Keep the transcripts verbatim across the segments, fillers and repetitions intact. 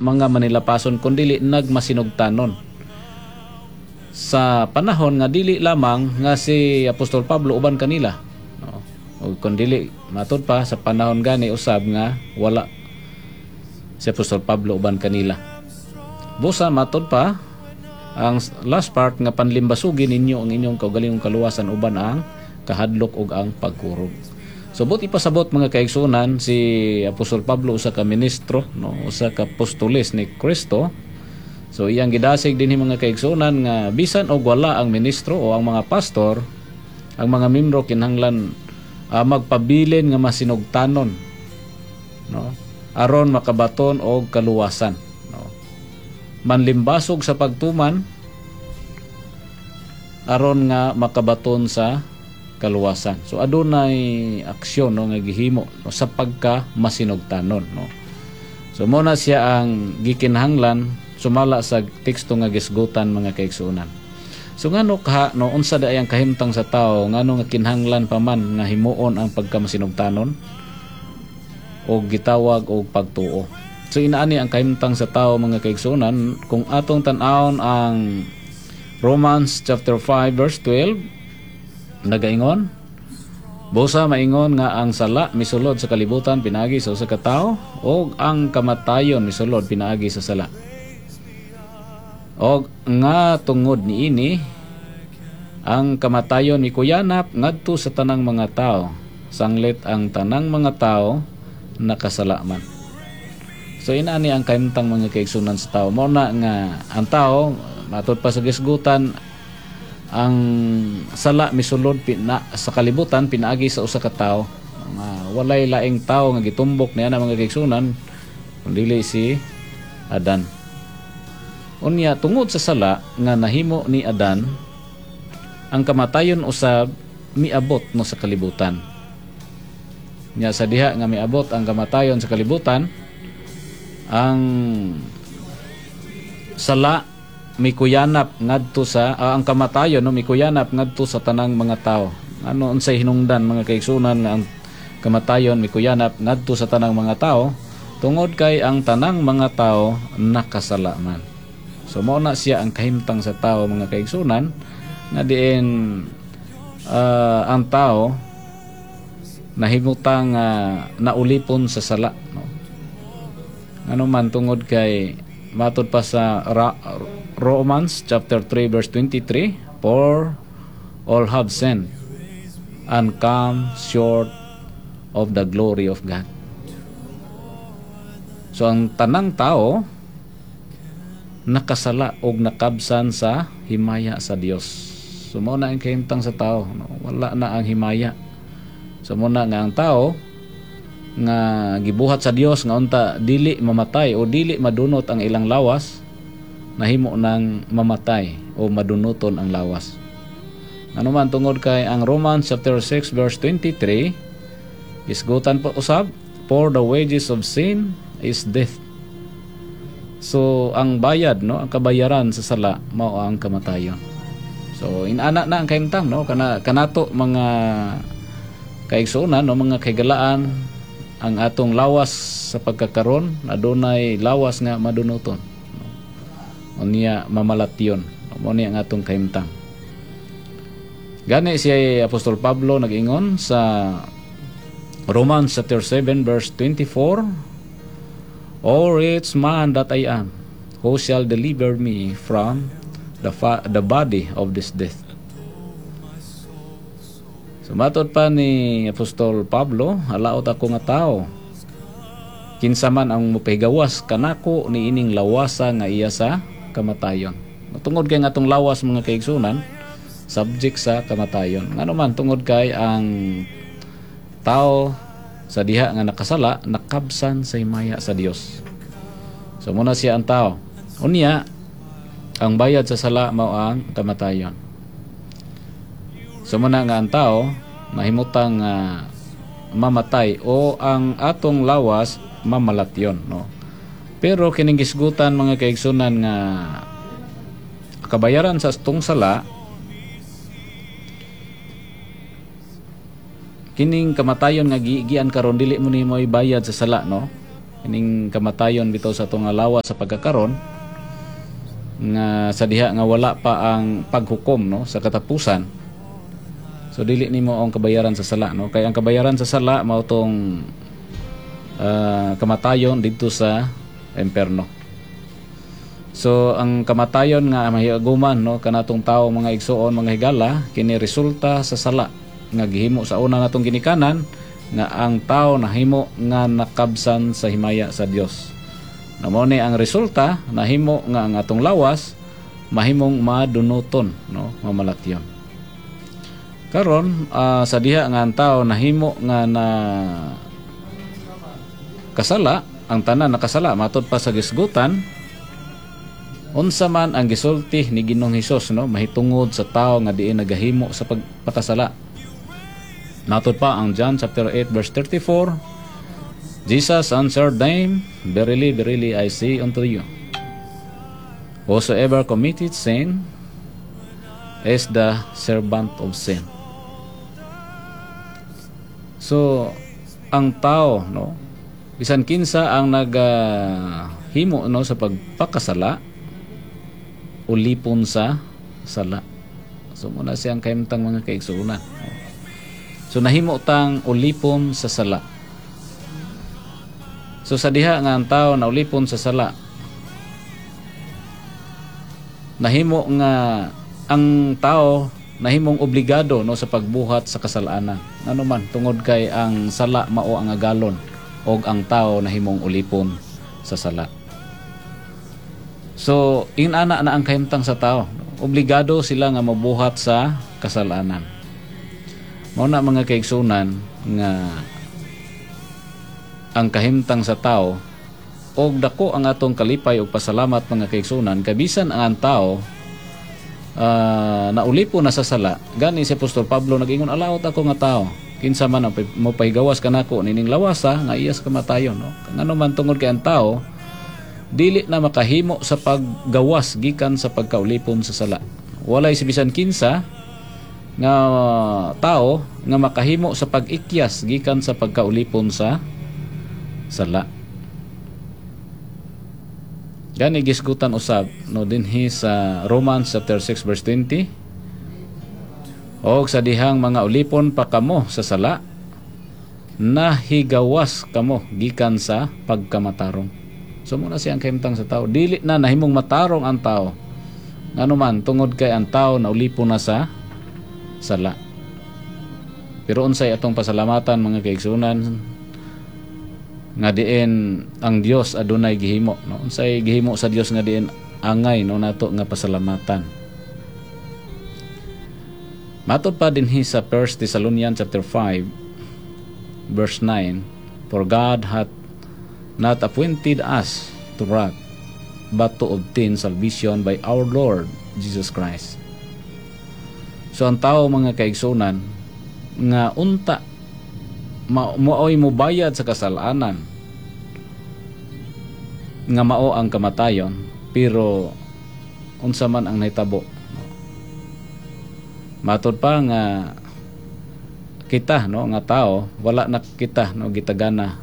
mga manilapason kundili nagmasinugtanon sa panahon nga dili lamang nga si Apostol Pablo uban kanila, no? O kun dili, matud pa sa panahon gani usab nga wala si Apostol Pablo uban kanila. Busa matud pa ang last part nga panlimbasugi ninyo ang inyong kaugalingong kaluwasan uban ang kahadlok ug ang pagkurog. So buot ipasabot, mga kaigsunan, si Apostol Pablo usa ka ministro, no, usa ka apostoles ni Kristo. So iyang gidasig dinhi, mga kaigsunan, nga bisan og wala ang ministro o ang mga pastor, ang mga membro kinahanglan uh, magpabilin nga masinugtanon, no, aron makabaton og kaluwasan, no. Manlimbasog sa pagtuman aron nga makabaton sa kaluwasan. So adunay aksyon, no, nga gihimo, no, sa pagka masinugtanon, no. So mo na siya ang gikinahanglan sumala sa teksto nga gisgutan, mga kaigsuonan. So ngano ka, no, unsa da ang kahimtang sa tao, ngano nga kinahanglan pa man nga himuon ang pagka masinugtanon o gitawag og pagtuo? So inaani ang kahimtang sa tao, mga kaigsuonan, kung atong tan-awon ang Romans chapter five verse twelve, nagaingon, "Busa maingon nga ang sala misulod sa kalibutan pinaagi sa usa ka tawo ug ang kamatayon misulod pinaagi sa sala. Og nga tungod niini ang kamatayon mikuyanap ngadto sa tanang mga tao, sanglit ang tanang mga tao nakasala man." So inaani ang kahimtang, mga kaigsunan, sa tao. Mao na nga ang tao, matud pa sa gisgutan, ang sala misulod pina, sa kalibutan pinaagi sa usa ka tawo nga walay laing tawo nga gitumbok niya na, mga kaigsunan, kundi si Adan. Unya tungod sa sala nga nahimo ni Adan, ang kamatayon usab miabot, no, sa kalibutan. Nya sa diha nga miabot ang kamatayon sa kalibutan, ang sala mikuyanap ngadto sa ah, ang kamatayon, no, mikuyanap ngadto sa tanang mga tao. Ano, unsay hinungdan, mga kaigsunan, nga ang kamatayon mikuyanap ngadto sa tanang mga tao? Tungod kay ang tanang mga tao nakasala man. So mao na siya ang kahimtang sa tao, mga kaigsunan, nga diin ah, ang tao nahimutang uh, naulipon sa sala, no? Ano man, tungod kay matud pa sa Ra- Romans chapter three verse twenty-three, "For all have sinned and come short of the glory of God." So ang tanang tao nakasala og nakabsan sa himaya sa Dios. So mao na ang kahimtang sa tao, no? Wala na ang himaya. So mao na nga ang tao nga gibuhat sa Dios nga unta dili mamatay o dili madunot ang ilang lawas, nahimo nang mamatay o madunuton ang lawas. Ano man, tungod kay ang Romans chapter six verse twenty-three, isgutan po usab, "For the wages of sin is death." So ang bayad, no, ang kabayaran sa sala mao ang kamatayon. So inana na ang kahimtang, no, kana kanato, mga kaigsuonan, no, mga kahigalaan, ang atong lawas sa pagkakaron adunay lawas nga madunuton, no? Unya mamalatyon. Mao ni ang atong kahimtang. Gani si Apostol Pablo nag-ingon sa Romans chapter seven verse twenty-four, "O wretched man that I am, who shall deliver me from the, fa- the body of this death?" So matod pa ni Apostol Pablo, "Halaot ako nga tao. Kinsa man ang mopahigawas kanako niining lawasa nga iya sa kamatayon?" Tungod kay nga atong lawas, mga kaigsunan, subject sa kamatayon. Ngano man, tungod kay ang tao sa diha nga nakasala nakabsan sa himaya sa Dios. So mao na siya ang tao. Unya ang bayad sa sala mao ang kamatayon. So mao na nga ang tao mahimutang uh, mamatay o ang atong lawas mamalatyon, no. Pero kining gisgutan, mga kaigsunan, nga kabayaran sa atong sala kining kamatayon nga giigian karon, dili mo nimo ibayad sa sala, no. Ining kamatayon bitaw sa atong lawas sa pagkakaron nga sa diha nga wala pa ang paghukom, no, sa katapusan. So dili nimo ang kabayaran sa sala, no, kay ang kabayaran sa sala mao tong ah, kamatayon didto sa imperno. So ang kamatayon nga mahiaguman, no, kanatong tawo, mga igsuon, mga higala, kini resulta sa sala nga gihimo sa una natong ginikanan, nga ang tao nahimo nga nakabsan sa himaya sa Dios. Na mao ni ang resulta, nahimo nga ang atong lawas mahimong madunuton, no, mamalatyon. Karon, ah, sa diha nga ang tao nahimo nga na kasala, ang tanan nakasala matud pa sa gisgutan, unsa man ang gisulti ni Ginoong Hesus, no, mahitungod sa tao nga diin nagahimo sa pagpakasala? Matod pa ang John chapter eight verse thirty-four, Jesus answered them, "Verily, verily, I say unto you, whosoever committed sin is the servant of sin." So, ang tao, no, bisan kinsa ang nagahimo, no, sa pagpakasala, ulipon sa sala. So, mao na siyang kahimtang, mga kaigsuonan. So, nahimo tang ulipon sa sala. So sa diha nga ang tao na ulipon sa sala, nahimo nga ang tao nahimong obligado, no, sa pagbuhat sa kasalanan. Ano man tungod kay ang sala mao ang agalon og ang tao nahimong ulipon sa sala. So inana na ang kahimtang sa tao. Obligado sila nga mabuhat sa kasalanan. Mao na, mga kaigsunan, nga ang kahimtang sa tao og dako ang atong kalipay og pasalamat, mga kaigsunan, kay bisan ang tao uh, naulipon na sa sala, gani si Apostol Pablo nag-ingon, "Alaot ako nga tao, kinsa man ang mopahigawas kanako nining lawasa nga iya sa kamatayon," no? Ngano man tungod kay ang tao dili na makahimo sa paggawas gikan sa pagkaulipon sa sala. Walay si bisan kinsa nga tao nga makahimo sa pag-ikyas gikan sa pagkaulipon sa sala. Gani gisgutan usab, no, dinhi sa Romans chapter six verse twenty, "Og sa dihang mga ulipon pa kamo sa sala, nahigawas kamo gikan sa pagkamatarong." So mao na siyang kahimtang sa tao. Dili na nahimong matarong ang tao. Ngano man tungod kay ang tao naulipon na sa sala. Pero unsay atong pasalamatan, mga kaigsunan, nga diin ang Dios adunay gihimo, no? Unsay gihimo sa Dios nga diin angay, no, nato nga pasalamatan? Matod pa dinhi sa First Thessalonians chapter five verse nine, "For God hath not appointed us to wrath, but to obtain salvation by our Lord Jesus Christ." So ang tao, mga kaigsunan, nga unta ma maoy mobayad sa kasalanan nga mao ang kamatayon, pero unsa man ang nahitabo? Matod pa nga kita, no, nga tao, wala na kita, no, gitagana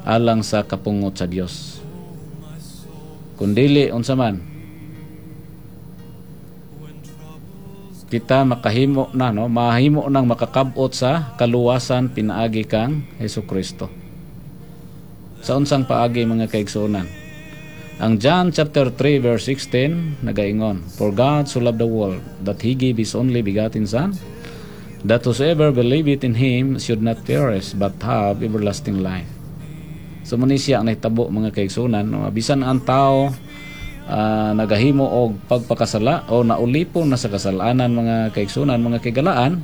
alang sa kapungot sa Dios. Kundili unsa man kita makahimo na, no, mahimo nang makakabot sa kaluwasan pinaagi kang Hesus Kristo. Sa unsang paagi, mga kaigsuonan? Ang John chapter three verse sixteen nagaingon, "For God so loved the world that he gave his only begotten son, that whosoever believeth in him should not perish but have everlasting life." So mao ni siya ang nahitabo, mga kaigsuonan, no? Bisan ang tao uh, nagahimo og pagpakasala o naulipon na sa kasalanan, mga kaigsunan, mga kaigalaan,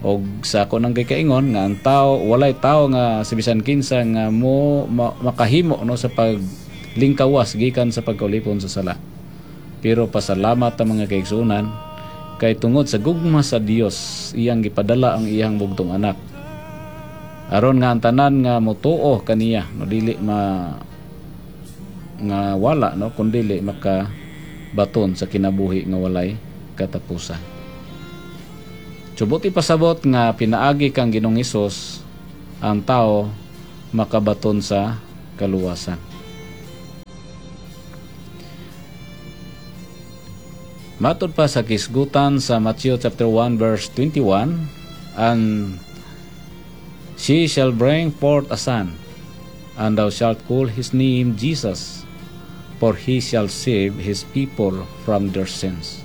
og sa ako nang gikaingon nga ang tao, walay tao nga si bisan kinsa nga mo ma, makahimo, no, sa paglingkawas gikan sa pagkaulipon sa sala. Pero pasalamat ang mga kaigsunan kay tungod sa gugma sa Dios, iyang gipadala ang iyang bugtong anak aron nga ang tanan nga motuo kaniya, no, dili ma nga wala, no, kundili maka baton sa kinabuhi nga walay katapusan. So buot ipasabot nga pinaagi kang Ginoong Hesus ang tao makabaton sa kaluwasan. Matod pa sa kisgutan sa Matthew chapter one verse twenty-one, and she shall bring forth a son, and thou shalt call his name Jesus, for he shall save his people from their sins.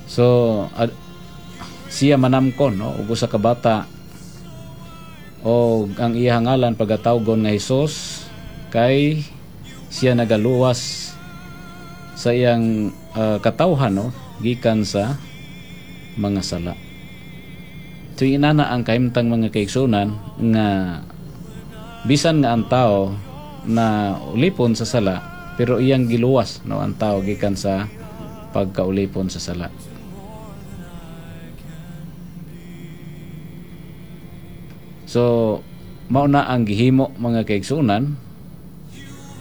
So, ad, siya manamkon, no, ug usa ka bata, o ang iya ngalan pagatawgon nga Hesus, kay siya nagaluwas sa iyang uh, katawhan, no, gikan sa mga sala. So inana ang kahimtang, mga kaigsunan, nga bisan nga ang tao na ulipon sa sala, pero iyang giluwas, no, ang tao gikan sa pagkaulipon sa sala. So mao na ang gihimo, mga kaigsunan,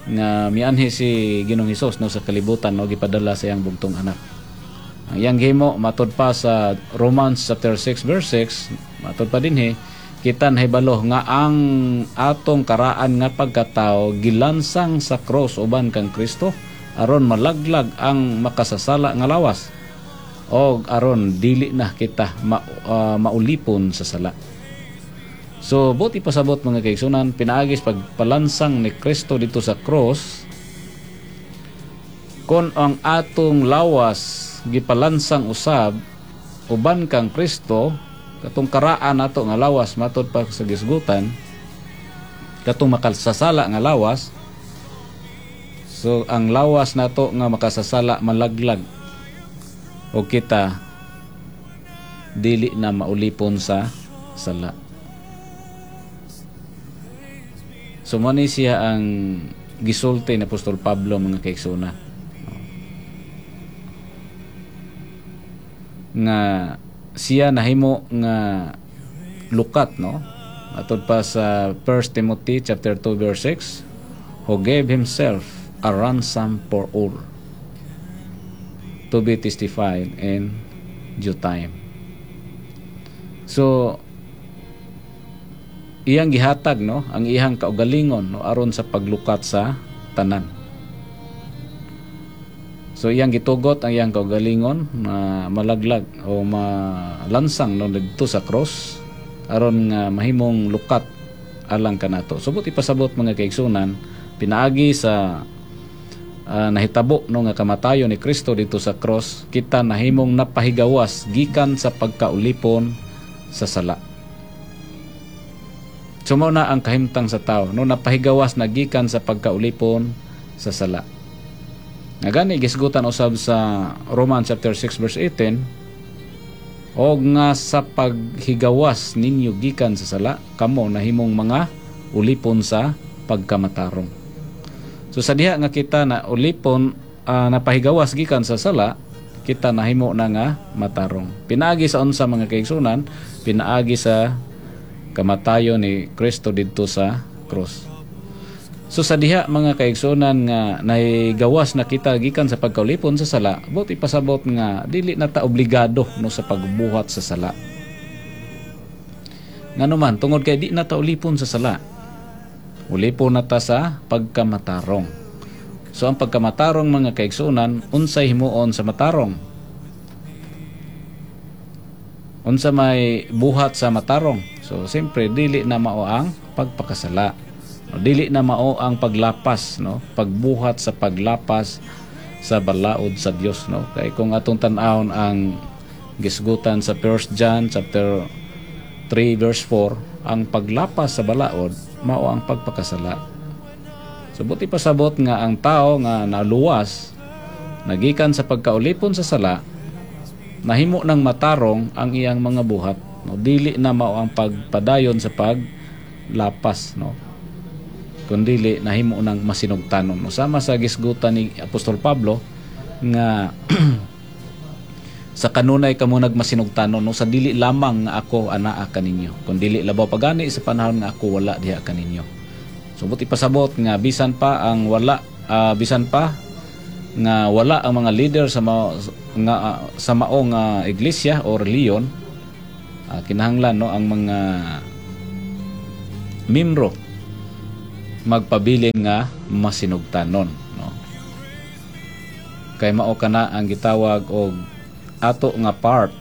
nga mianhi si Ginoong Hesus, no, sa kalibutan, no, gipadala sa iyang bugtong anak. Ang iyang gihimo, matod pa sa Romans chapter six verse six, matod pa dinhi, kita nahibalo nga ang atong karaan nga pagkatao gilansang sa cross uban kang Kristo aron malaglag ang makasasala nga lawas og aron dili na kita ma, uh, maulipon sa sala. So buti pasabot, mga kaigsunan, pinaagis pagpalansang ni Kristo dito sa cross, kon ang atong lawas gipalansang usab uban kang Kristo, katong karaan nato nga lawas, matod pa sa gisgutan, katong makasasala nga lawas, so ang lawas nato nga makasasala malaglag o kita dili na maulipon sa sala. So mo ni siya ang gisulti ni Apostol Pablo, mga kaigsunan, nga siya nahimo nga lukat, no, atod pa sa First Timothy chapter two verse six, who gave himself a ransom for all to be testified in due time. So iyang gihatag, no, ang iyang kaugalingon, no, aron sa paglukat sa tanan. So iyang gitugot ang iyang kaugalingon na malaglag o malansang, no, didto sa cross aron nga mahimong lukat alang kanato. So buti pasabot, mga kaigsunan, pinaagi sa uh, nahitabo, no, nga kamatayon ni Kristo dito sa cross, kita nahimong napahigawas gikan sa pagkaulipon sa sala. So mao na ang kahimtang sa tao, no, napahigawas na gikan sa pagkaulipon sa sala. Nga gani gisgutan usab sa Romans chapter six verse eighteen, og nga sa paghigawas ninyo gikan sa sala, kamo nahimong mga ulipon sa pagkamatarong. So sa diha nga kita na ulipon, uh, napahigawas gikan sa sala, kita nahimo na nga matarong. Pinaagi sa unsa, mga kaigsunan? Pinaagi sa kamatayon ni Kristo didto sa cross. So sa diha, mga kaigsunan, nga nahigawas na kita gikan sa pagkaulipon sa sala, buti pasabot nga dili na ta obligado, no, sa pagbuhat sa sala. Ngano man, tungod kay di na ta ulipon sa sala. Ulipon na ta sa pagkamatarong. So ang pagkamatarong, mga kaigsunan, unsay himuon sa matarong? Unsa may buhat sa matarong? So siyempre dili na mao ang pagpakasala. Dili na mao ang paglapas, no, pagbuhat sa paglapas sa balaod sa Dios, no. Kay kung atong tan-awon ang gisgutan sa First John chapter three verse four, ang paglapas sa balaod mao ang pagpakasala. So buti pasabot nga ang tao nga naluwas nagikan sa pagkaulipon sa sala, nahimo ng matarong ang iyang mga buhat, no. Dili na mao ang pagpadayon sa paglapas, no, kundili nahimo ng masinugtanon, no. Sama sa gisgutan ni Apostol Pablo nga sa kanunay kamo nagmasinugtanon, no, sa dili lamang nga ako anaa kaninyo, kundili labaw pagani sa panahon nga ako wala diha kaninyo. So buti pasabot nga bisan pa ang wala, uh, bisan pa nga wala ang mga leader sa mao, nga uh, sa mao nga iglesia o reliyon, uh, kinahanglan, no, ang mga membro magpabilin nga masinugtanon, no? Kay mao kana ang gitawag og ato nga part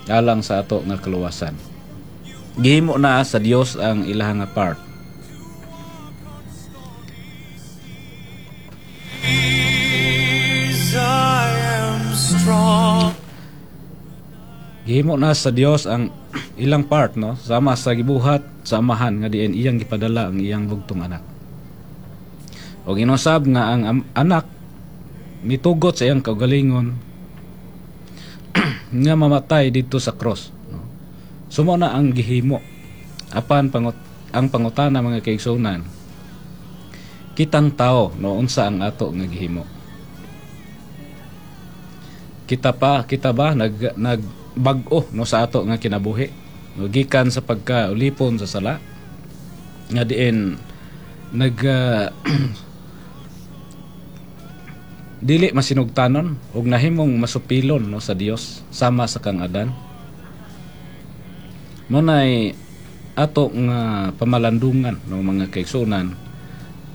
alang sa ato nga kaluwasan. Gihimo na sa Dios ang ilahang nga part. I am strong. Gihimo na sa Dios ang ilang part, no, sama sa gibuhat sa Amahan nga diin iyang gipadala ang iyang bugtong anak. Og inusab nga ang am- anak mitugot sa iyang kaugalingon nga mamatay didto sa cross, no? So mao na ang gihimo. Apan pangut ang pangutana, mga kaigsuonan, kitang tao, no, unsa ang ato nga gihimo? Kita pa kita ba nag nagbag-o, no, sa ato nga kinabuhi, no, gikan sa pagka ulipon sa sala nga diin nag ah, dili masinugtanon ug nahimong masupilon, no, sa Dios sama sa kang Adan? Mao nay ato nga pamalandungan, no, mga kaigsuonan,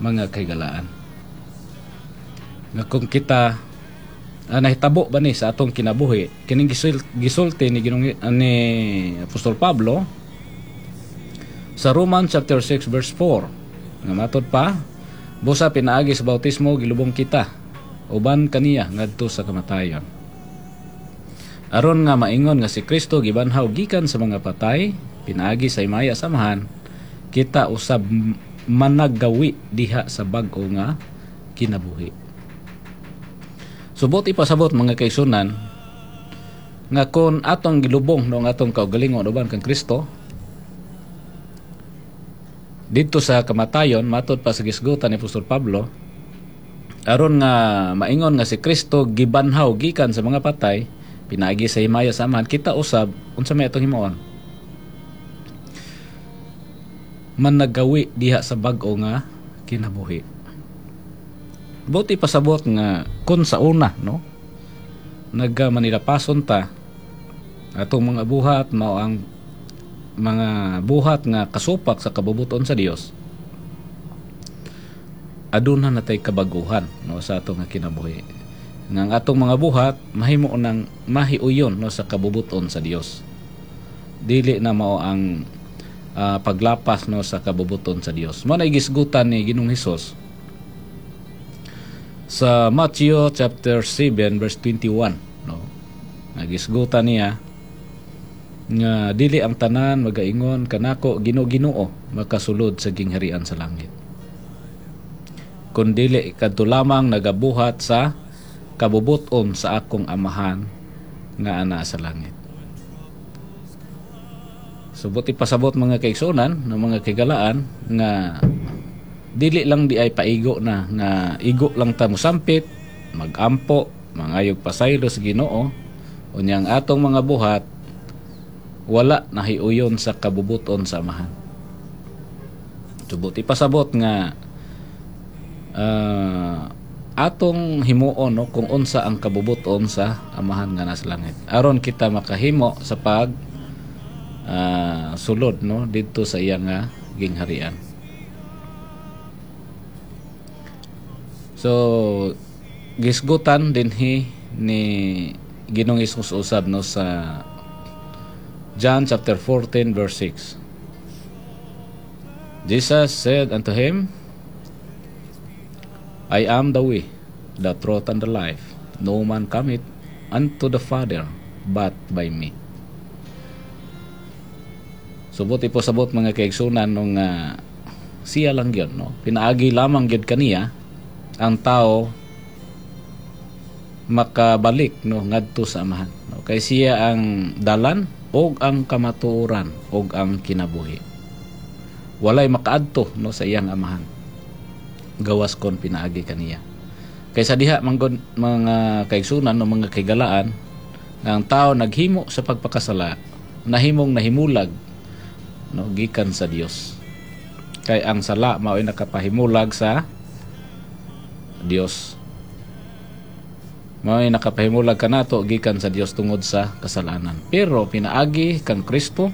mga kahigalaan, nga kung kita ah, nahitabo ba ni sa atong kinabuhi kining gisul, gisulti ni Ginoong ah, ni Apostol Pablo sa Romans chapter six verse four nga matod pa, "Busa pinaagi sa bautismo gilubong kita uban kaniya ngadto sa kamatayon aron nga maingon nga si Kristo gibanhaw gikan sa mga patay pinaagi sa himaya sa Amahan, kita usab managgawi diha sa bag-o nga kinabuhi." Subot ipasabot, mga kaigsuonan, nga kung atong gilubong, no, ang atong kaugalingon uban kang Kristo didto sa kamatayon, matod pa sa gisgutan ni Apostol Pablo, aron nga maingon nga si Kristo gibanhaw gikan sa mga patay pinaagi sa himaya sa Amahan, kita usab, unsa may atong himuon? Managawi diha sa bag-o nga kinabuhi. Buti pasabot nga kung sa una, no, nagka manilapason ta, atong mga buhat mao ang mga buhat nga kasupak sa kabubuton sa Dios, aduna na tay kabaguhan, no, sa atong nga kinabuhi nga ang atong mga buhat mahimo nang mahiuyon, no, sa kabubuton sa Dios, dili na mao ang ah, paglapas, no, sa kabubuton sa Dios. Mao na gisgutan ni Ginoong Hesus sa Matthew chapter seven verse twenty-one, no. Nagisgutan niya nga dili ang tanan magaingon kanako, "Ginoo, Ginoo," makasulod sa gingharian sa langit, kun dili kadto lamang nagabuhat sa kabubuton sa akong Amahan nga ana sa langit. Subot ipasabot, mga kaigsuonan ng mga kahigalaan, nga dili lang di ay paigo na nga igo lang ta mosampit, magampo, mangayog pasaylo sa Ginoo, unya ang atong mga buhat wala nahiuyon sa kabubuton sa Amahan. Subot ipasabot nga ah, atong himuon, no, kung unsa ang kabubuton sa Amahan nga nasa langit aron kita makahimo sa pag ah, sulod, no, didto sa iya nga gingharian. So gisgutan dinhi ni Ginoong Hesus usab, no, sa John chapter fourteen verse six. Jesus said unto him, "I am the way, the truth, and the life. No man cometh unto the Father but by me." Subot ipasabot, mga kaigsuonan, nung uh, siya lang yun, no? Pinaagi lamang gyud kaniya ang tao makabalik, no, ngadto sa Amahan. No? Kay siya ang dalan og ang kamatuoran og ang kinabuhi. Walay makaadto, no, sa iyang Amahan gawas kon pinaagi kaniya. Kaysa diha manggod, mga kaigsuonan, no, mga kahigalaan, nga ang tao naghimo sa pagpakasala, nahimong nahimulag, no, gikan sa Dios. Kay ang sala mao'y nakapahimulag sa Dios. Mao'y nakapahimulag kanato gikan sa Dios tungod sa kasalanan. Pero pinaagi kang Kristo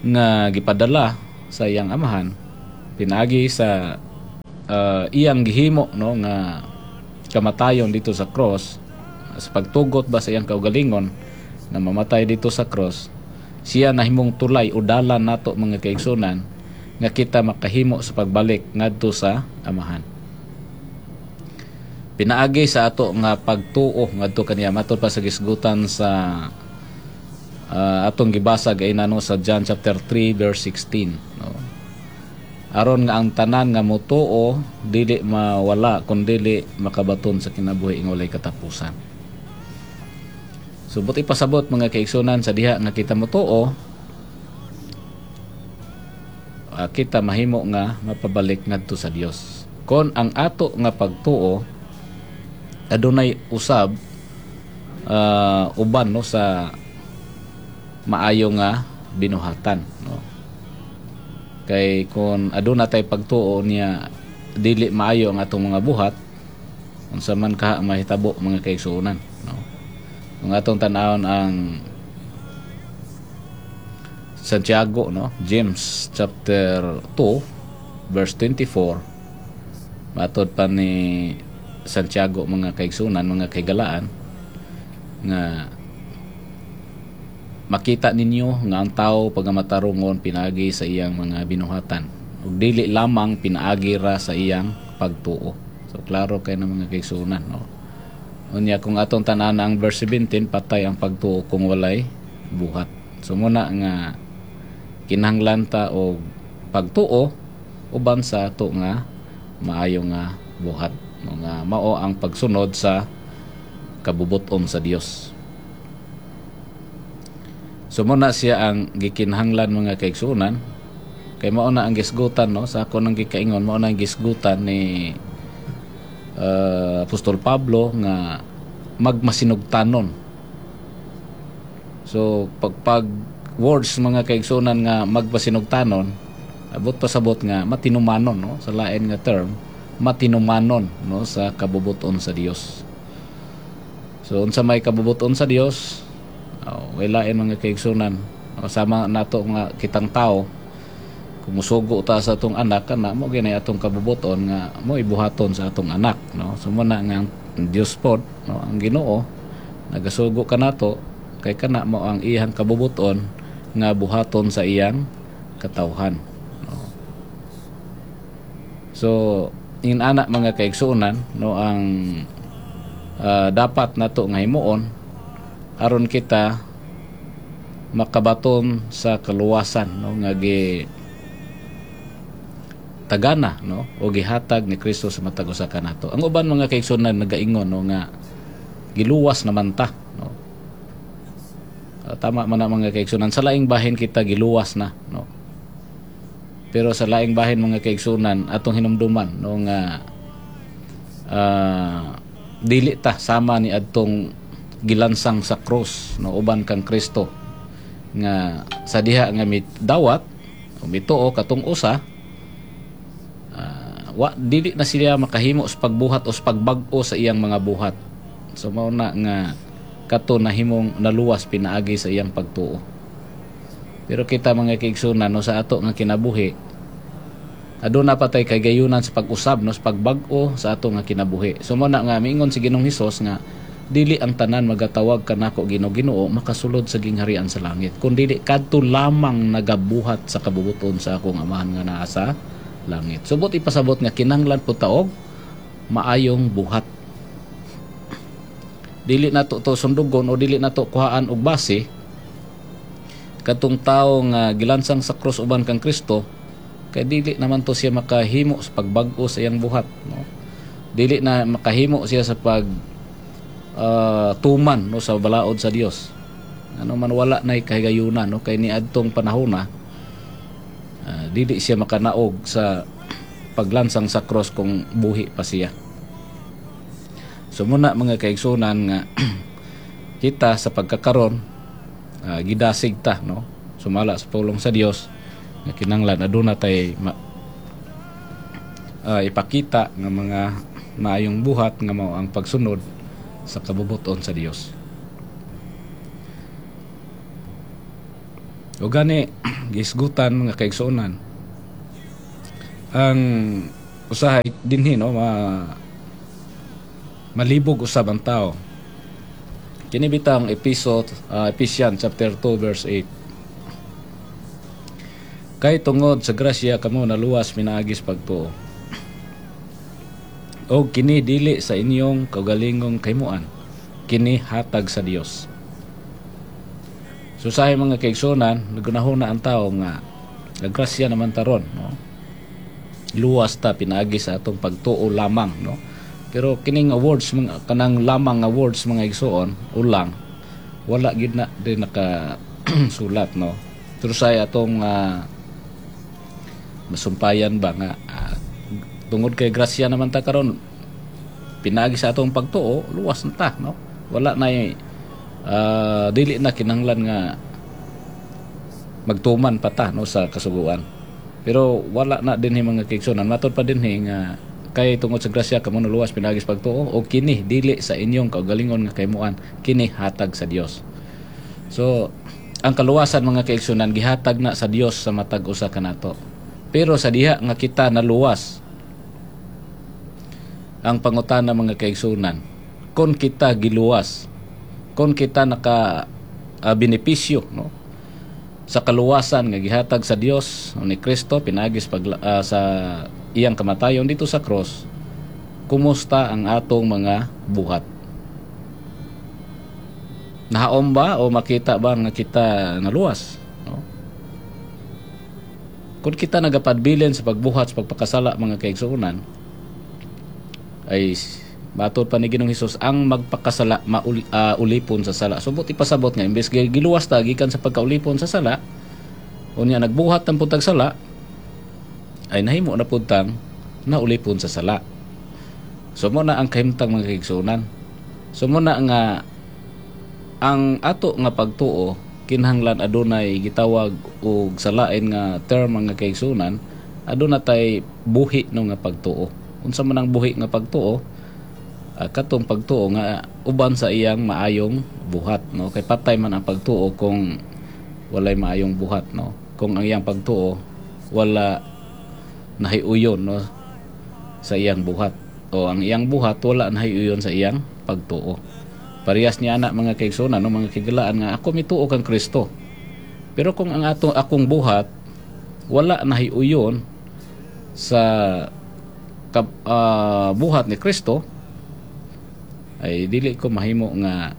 nga gipadala Sa iyang Amahan pinaagi sa uh, iyang gihimo, no, nga kamatayon dito sa cross, sa pagtugot ba sa iyang kaugalingon na mamatay dito sa cross. Siya nahimong tulay o dalan nato, mga kaigsunan, nga kita makahimo sa pagbalik ngadto sa Amahan pinaagi sa ato nga pagtuo ngadto kaniya, matod pa sa gisgutan sa uh, atong gibasa gaina, no, sa John chapter three verse sixteen, no, aron nga ang tanan nga motuo dili mawala kun dili makabaton sa kinabuhi nga walay katapusan. So buot ipasabot, mga kaigsunan, sa diha nga kita motuo, uh, kita mahimo nga mapabalik ngadto sa Dios kon ang ato nga pagtuo adunay usab uh, uban, no, sa maayo nga binuhatan, no. Kay kung aduna tay pagtuo niya dili maayo ang atong mga buhat, unsa man kaha mahitabo, mga kaigsuonan, no? Kung atong tan-awon ang Santiago, no, James chapter two verse twenty-four, matod pa ni Santiago, mga kaigsunan, mga kaigalaan, nga makita ninyo nga ang tao pagamatarungon pinaagi sa iyang mga binuhatan ug dili lamang pinaagi ra sa iyang pagtuo. So klaro kay na, mga kaigsunan, no? Unya kung atong tan-awon ang verse seventeen, patay ang pagtuo kung walay buhat. So muna nga kinahanglan ta og pagtuo uban sa ato nga maayo nga buhat, no, nga mao ang pagsunod sa kabubuton sa Dios. So muna siya ang gikinahanglan, mga kaigsunan, kay mao na ang gisgutan, no, sa ako nang gikaingon, mao na ang gisgutan ni uh, Apostol Pablo nga magmasinugtanon. So pag pag words, mga kaigsunan, nga magmasinugtanon, abot pasabot nga matinumanon, no, sa lain nga term, matinumanon, no, sa kabubuton sa Dios. So unsa may kabubuton sa Dios? Oh, lain, mga kaigsunan. Sama nato nga kitang tao, kung musugo ta sa atong anak, kana mo gani atong kabubuton nga mo ibuhaton sa atong anak, no? So mo na nga ang Dios pod, no, ang Ginoo nagasugo kanato kay kana mo ang iyang kabubuton nga buhaton sa iyang katawhan, no? So in ana, mga kaigsuonan, no, ang uh, dapat nato nga himuon aron kita makabaton sa kaluwasan, no, nga gi tagana, no, o gihatag ni Kristo sa matag usa kanato. Ang uban, mga kaigsuonan, nagaingon, no, nga giluwas naman ta, no. Uh, tama man na, mga kaigsuonan, sa laing bahin kita giluwas na, no. Pero sa laing bahin, mga kaigsuonan, atong hinumduman, no, nga uh, dili ta sama ni adtong gilansang sa cross, no, uban kang Kristo nga sa diha nga midawat o mituo katong usa, uh, wa dili na siya makahimo sa pagbuhat o sa pagbag-o sa iyang mga buhat. So mao na nga kato nahimong naluwas pinaagi sa iyang pagtuo. Pero kita, mga kaigsunan, no, sa ato nga kinabuhi, aduna pa tay kagayunan sa pag-usab, no, sa pagbag-o sa ato nga kinabuhi. So mao na nga miingon si Ginoong Hesus nga dili ang tanan magatawag kanako "Ginoo, Ginoo" makasulod sa gingharian sa langit, kun dili kadto lamang nagabuhat sa kabubuton sa akong Amahan nga naa sa langit. So buot ipasabot nga kinahanglan po ta og maayong buhat. Dili nato to sundugon o dili nato kuhaan og base katong tawo nga gilansang sa krus uban kang Kristo, kay dili naman to siya makahimo sa pagbag-o sa iyang buhat, no? Dili na makahimo siya sa pag uh, tuman, no, sa balaod sa Dios, ano man wala na kahigayunan, no, kay niadtong panahon na uh, dili siya makanaog sa paglansang sa cross kung buhi pa siya. So muna, mga kaigsunan, nga kita sa pagkakaron uh, gidasig ta, no, sumala sa pulong sa Dios nga kinanglan aduna tay ma, uh, ipakita nga mga maayong buhat nga mao ang pagsunod sa kabubuton sa Dios. O gani gisgutan, mga kaigsuonan, Ang usahay dinhi, no, ma malibog usab ang tao. Kini bitang episode uh, Ephesians chapter two verse eight. Kay tungod sa grasya kamo naluwas pinaagi sa pagtuo. O kini dili sa inyong kaugalingong kahimuan, kini hatag sa Dios. So usahay, mga kaigsunan, nagunahuna ang tao nga nagrasya naman taron, no? Luwas ta pinaagi sa atong pagtuo lamang, no? Pero kining nga words, mga kanang lamang nga words, mga igsuon, ulang, wala gid na din naka sulat, no? Pero sa atong uh, masumpayan ba nga uh, tungod kay grasya naman ta karon pinaagi sa atong pagtuo, luwas na ta, no? Wala na uh, dili na kinahanglan nga magtuman pa ta, no, sa kasuguan. Pero wala na dinhi, mga kaigsunan. Matod pa dinhi nga kay tungod sa grasya kamo naluwas pinaagi sa pagtuo o kini dili sa inyong kaugalingon nga kahimuan, kini hatag sa Dios. So ang kaluwasan, mga kaigsunan, gihatag na sa Dios sa matag usa kanato. Pero sa diha nga kita naluwas, ang pangutana, mga kaigsunan, kung kita giluwas, kung kita naka uh, benepisyo, no, sa kaluwasan nga gihatag sa Dios ni Kristo pinaagi pag, uh, sa iyang kamatayon dito sa cross, kumusta ang atong mga buhat? Nahaom ba o makita ba nga kita naluwas, no? Kung kita nagapadbilin sa pagbuhat sa pagpakasala, mga kaigsuonan, ay matod pa ni Ginoong Hesus, ang magpakasala maul, uh, ulipon sa sala. So buot ipasabot nga imbes giluwas ta gikan sa pagkaulipon sa sala, unya nagbuhat ng pud tag sala, ay nahimo na pud tang naulipon sa sala. So mo na ang kahimtang, mga kaigsuonan. So mo na nga ang ato nga pagtuo kinahanglan adunay gitawag og sa lain nga term, mga kaigsuonan, aduna tay buhi, no, nga pagtuo. Unsa man ang buhi nga pagtuo? Uh, katong pagtuo nga uban sa iyang maayong buhat, no? Kay patay man ang pagtuo kung walay maayong buhat, no? Kung ang iyang pagtuo wala nahiuyon, no, sa iyang buhat o ang iyang buhat wala nahiuyon sa iyang pagtuo. Parehas niya ana, mga kaigsuonan, no, mga kahigalaan, nga ako mituo kang Kristo, pero kung ang ato akong buhat wala nahiuyon sa kab, uh, buhat ni Kristo, ay dili ko mahimo nga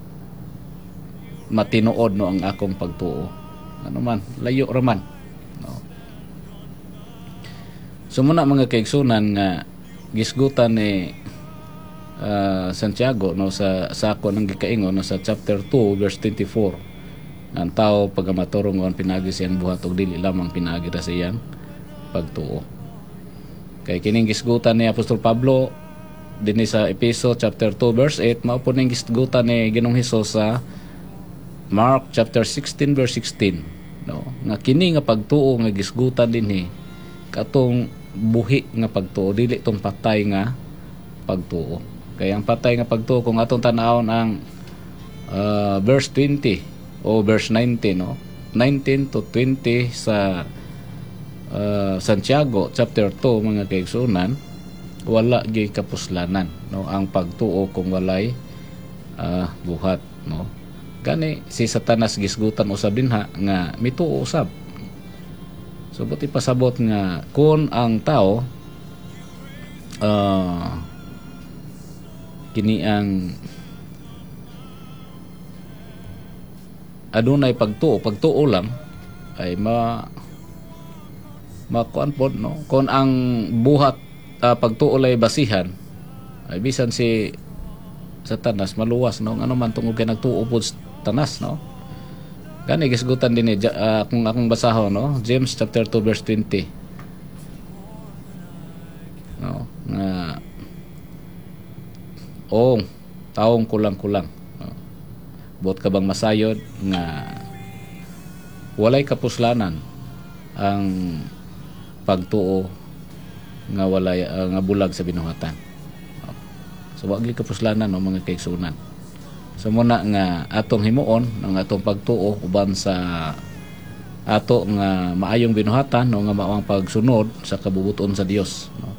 matinuod, no, ang akong pagtuo. Ano man, layo ra man, no? So muna, mga kaigsunan, nga gisgutan ni uh, Santiago, no, sa sa ako nang gikaingon, no, sa chapter two verse twenty-four, ang tao pagamaturungon pinaagi sa iyang buhat ug dili lamang pinaagi ra sa iyang pagtuo. Kay kining gisgutan ni Apostol Pablo dinhi sa Epeso chapter two verse eight, mao po ning gisgutan ni Ginoong Hesus sa Mark chapter sixteen verse sixteen, no, nga kini nga pagtuo nga gisgutan dinhi katong buhi nga pagtuo, dili tong patay nga pagtuo. Kay ang patay nga pagtuo, kung atong tan-awon ang uh, verse twenty o verse nineteen, no, nineteen to twenty sa uh, Santiago chapter two, mga kaigsunan, wala gyud kapuslanan, no, ang pagtuo kung walay uh, buhat, no? Gani si Satanas gisgutan usab dinha nga mituo usab. So buot ipasabot nga kung ang tao uh, kini ang adunay pagtuo, pagtuo lang, ay ma makuan pod, no? Kung ang buhat uh, pagtuo lay basihan, ay bisan si Satanas maluwas, no? Ano man, tungod kay nagtuo pod sa Tanas, no? Gani gisgutan din eh, uh, kung akong basahon, no, James chapter two verse twenty, no, nga ong taong kulang-kulang, no? Buot ka bang masayod nga walay kapuslanan ang pagtuo nga walay uh, nga bulag sa binuhatan? So wa gyud kapuslanan, no, mga kaigsunan. So muna nga atong himuon ang atong pagtuo uban sa Ato nga maayong binuhatan, no, nga mao ang pagsunod sa kabubut-on sa Dios, no?